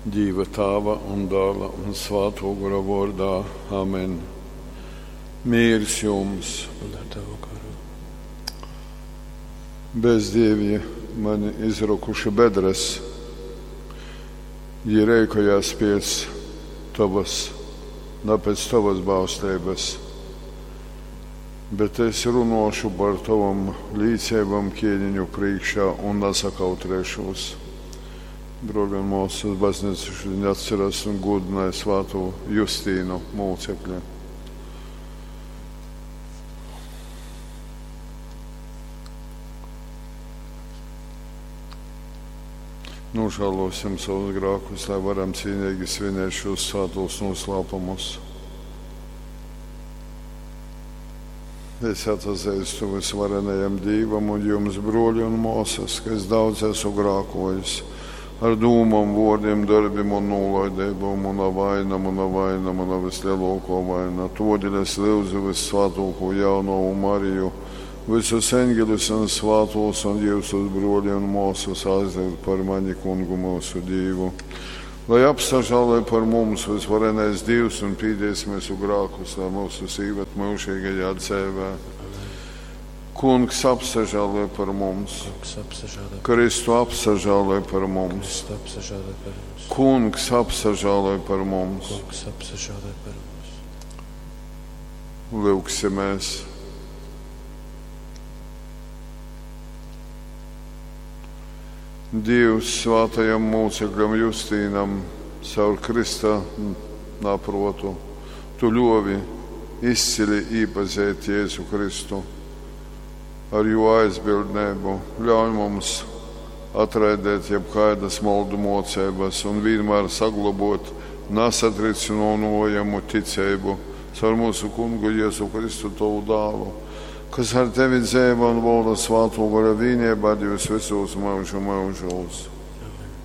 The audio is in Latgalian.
Dīva Tāva un Dāla un Svātō Gora vōrdā. Amen. Mīrs jums! Un ar tavu garu. Bezdīvji mani izrokuši bedres, jī reikojās pēc tovas, na pēc tovas bausleibas. Bet es runōšu par tovom līceibom kēniņu prīškā un nasakautrēšūs. Brōļi un mōsas, baznīca šodien atceras un godināja svātū Justīnu mūcekli. Nožēlosim savus grēkus, lai varam cīnīgi svinēt šos svētos noslēpumus. Es atzīstu visvarenajam Dīvam un jums, broļi un māsas, ka es daudz esmu grēkojis ar dūmām, vārdiem, darbiem un nolaidību, mana vaina, mana vaina, mana vislielākā vaina. Todēļ es lūdzu vissvētāko jaunavu Mariju, visus eņģeļus un svētos un jūsus broļi un māsas aizliegt par mani kungu mūsu Dievu. Lai apsažāloj par mums visvarenais Dievs un pīdies mūsu grēkus, lai mūsu sīvet mūžīgajā dzīvē. Kungs apsažāloj par mums. Kungs apsažāloj, Kristu apsažāloj par mums. Kristu apsažāloj par mums. Kungs apsažāloj par mums. Kungs apsažāloj par mums. Lūgsimies. Dievs svētajam mūcekļam Justīnam caur Krista naprotu, tu ļovi izcili iepazīt Jēzu Kristu ar jo aizbildnību. Ļauj mums atraidēt jebkādas moldu mocības un vienmēr saglabot nesatricinojamu ticību caur mūsu kungu Jēzu Kristu tavu dālu, kas ar tevi dzēva un valda svāto gara vienībā Dievs visos mūžu mūžos.